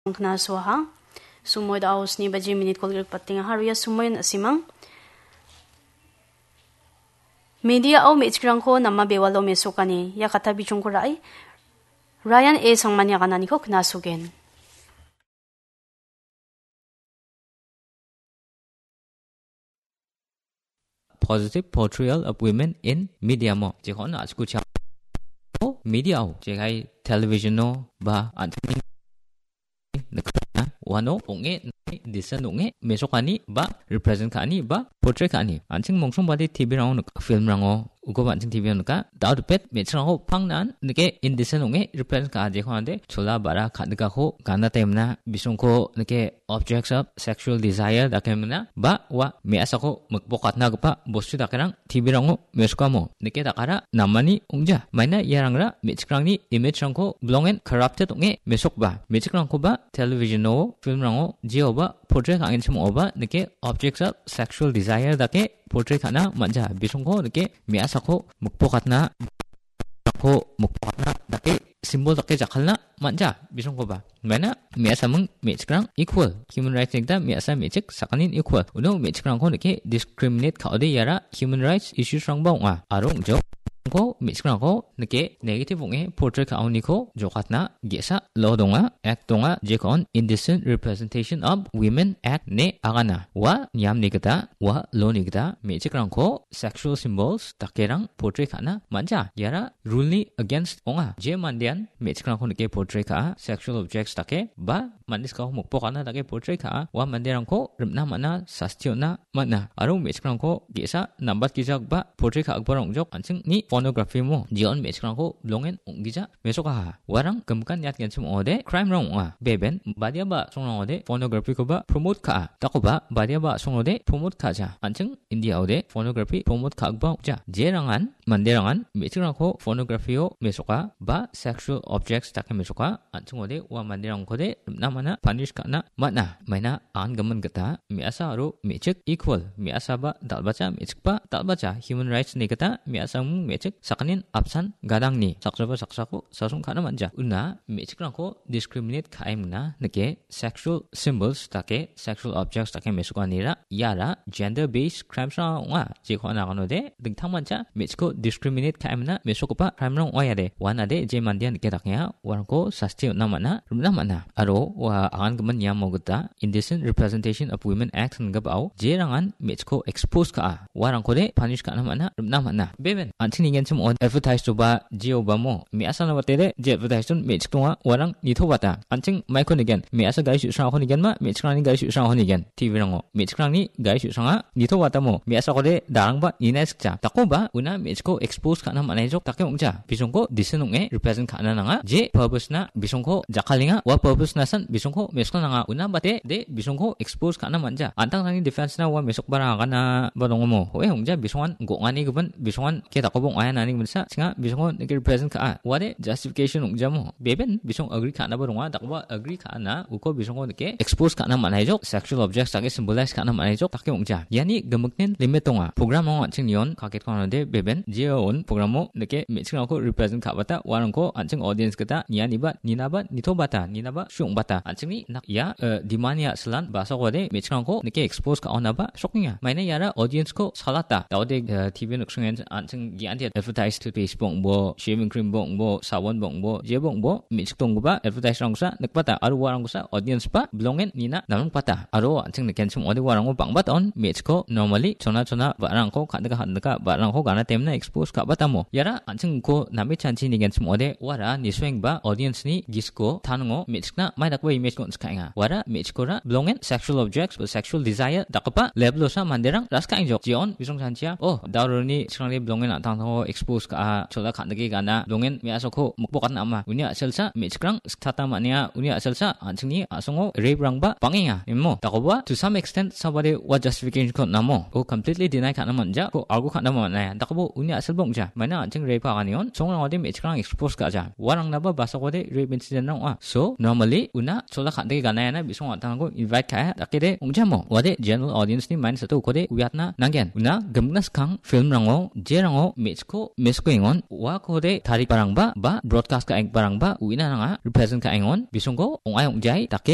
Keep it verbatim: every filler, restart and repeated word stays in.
Knasoaha. Sumoi da·o sni baji minit kolgrikbatengaha. Aro ia sumoion a·simang. Media-o me·chikrangko nama bewalo mesokani. Ia kata bijongko ra·e. Ryan A Sangmani agananiko knasogen. Positive portrayal of women in media mo. Jekon a·chikucha. O media-o, jekai television-o ba an-, nikna, uano ong·e, disen ong·e, mesokani ba represent ka·ani ba portray ka·ani. An·ching mongsongbade T V-rango nik-, film-rango uko an·ching T V-o nika. Dao dipet me·chikrangko pangnan nike indecent ong·e represent ka·a, jekon ande chola ba·ra ka·nikako gana temna bisongko nike objects of sexual desire dake mena ba ua me·asako mikbokatnagipa bostu dakerang T V-rango mesokamo nike dakara namani ong·ja. Maina iarangra me·chikrangni image-rangko bilongen corrupted ong·e mesokba me·chikrangkoba television-o, film-rango jeoba portray ka·angenchim ong·oba nike objects of sexual desire dake portray ka·na man·ja. Bisongko nike me·asako mikbokatna, ko mikbokatna dake symbol dake jakkalna man·ja. Bisongkoba maina me·asaming me·chikrang equal, human rights-ni gita me·asa me·chik sakanin equal. Uno me·chikrangko nike discriminate ka·ode iara human rights issues-rangba ong·a. Aro ong·jo. Ko me·chikrangko nike negative ong·e portray ka·oniko jokatna ge·sa law donga, act donga, jekon Indecent Representation of Women Act ine agana. Ua niamni gita, ua law-ni gita me·chikrangko sexual symbols dakerang portray ka·na man·ja. Iara rule-ni against ong·a. Je mandean me·chikrangko nike portray ka·a, sexual objects dake ba mande skao mokpokana dake portray ka·a, ua manderangko rim·na man·a, sasti on·a man·a. Aro me·chikrangko ge·sa nambatgijagipa portray ka·giparang ong·jok, an·chingni pornography mo. Jeon me·chikrangko bilongen ong·gija mesokaha. Uarang gimikan niatgenchim ong·ode crime-rang ong·a. Beben badiaba songrangode pornography-koba promote ka·a. Dakoba badiaba songrode promote ka·ja. An·ching India-ode pornography promote ka·gipa ong·ja. Jerangan, manderangan me·chikrangko pornography-o mesoka ba sexual objects dake mesoka. An·chingode ua manderangkode rim·na man·a, punish ka·na man·a. Maina an·gimin gita me·asa aro me·chik equal, me·asaba dal·bacha, me·chikba dal·bacha, human rights-ni gita me·asangming me·chik sakanin apsan gadangni saksaba saksako sasong ka·na man·ja. Una me·chikrangko discriminate ka·e mingna nike sexual symbols dake, sexual objects dake mesokanira iara gender based crimes-rang ong·a. Jeko anaganode dingtangmancha me·chikko discriminate ka·emna mesogipa crime-rang ong·a iade. Uanade je mandean nike dakenga, uarangko sasti on·na man·a, rim·na man·a. Aro ua agangimin niamo gita Indecent Representation of Women Act ingipao jerangan me·chikko expose ka·a, uarangkode punish ka·na man·a, rim·na man·a. Beben, an·ching nigenchim on advertise-oba jeobamo, me·asana watede je advertise-on me·chik donga, uarang nitobata. An·ching maiko nigen, me·asa gari su·srangako nigenma, me·chikrangni gari su·srangako nigen. T V-rango me·chikrangni gari su·sranga nitobatamo me·asakode darangba nina sikja. Dakoba una me·chikko expose ka·na man·aijok dake ong·ja. Bisongko disen ong·e represent ka·na nanga. Je purpose-na bisongko jakkalenga, ua purpose-nasan bisongko mesokna nanga. Una bate de bisongko expose ka·na man·ja. An·tangtangni defense-na ua mesokbarang aganaba dongomo. Hoe ong·ja, bisongan go·ani gipin, bisongan ke dakoba ong·aia nani gipinsa, chinga bisongko nike represent ka·a. Uade justification ong·jamo. Beben bisong agree ka·naba donga, dakoba agree ka·ana, uko bisongko nike expose ka·na man·aijok, sexual objects dake symbolize ka·na man·aijok dake ong·ja. Iani gimiknin limit donga. Program-o an·ching nion kaketko anode beben, jeon program-o nike me·chikrangko represent ka·bata, uarangko an·ching audience gita nianiba, ninaba, nitobata, ninaba, su·ongbata. An·chingni nak-, ia, eh, demand-ni a·silan basakode me·chikrangko nike expose ka·onaba sokenga. Maina iara audience-ko salata. Daode, eh, T V noksongen an·ching gianti advertise to Facebook bo, shaving cream bo, bo, sabon bo, bo, je bo, bo, me·chik donggipa advertise-rangkosa nikbata, aro uarangkosa audience-ba bilongen nina namrikbata. Aro an·ching nikenchim ong·ode uarango bang·bata on me·chikko normally chona chona ba·rarangko ka·nika ka·nika ba·rarangko gana temna expose ka·batamo. Iara an·chingko name chanchi nigenchim ong·ode uara nisoenggipa audience-ni gisiko tanongo me·chikna mai dakgipa image-ko on·sikaenga. Uara me·chikkora bilongen sexual objects ba sexual desire dakgipa level-osa manderang raskaengjok. Jeon bisong chanchia, oh, dauroni chikrangni bilongen an·tangtangko expose ka·a, chola ka·nike gana, bilongen me·asako mokbokatna ama. Uni a·selsa me·chikrang siktata man·enga, uni a·selsa an·chingni a·songo rape-rangba bang·enga, imo. Dakoba, to some extent, sabade ua justification-ko namo. Ko completely deny ka·na man·ja, ko argue ka·na man·aia. Dakobo uni a·selba ong·ja. Maina an·ching rape ka·anion, songrangode me·chikrang expose ka·ja. Uarangnaba basakode rape incident-rang ong·a. So, normally, una chola ka·dike ganaiana bisong an·tangko invite ka·a, dakede ong·jamo. Uade general audience-ni mindset-o ukode uiatna nanggen. Una gimikna skang film-rango, jerango me·chikko mesokengon, uakode tarigiparangba, ba broadcast ka·enggiparangba uina nanga, represent ka·engon, bisongko ong·ai ong·jai dake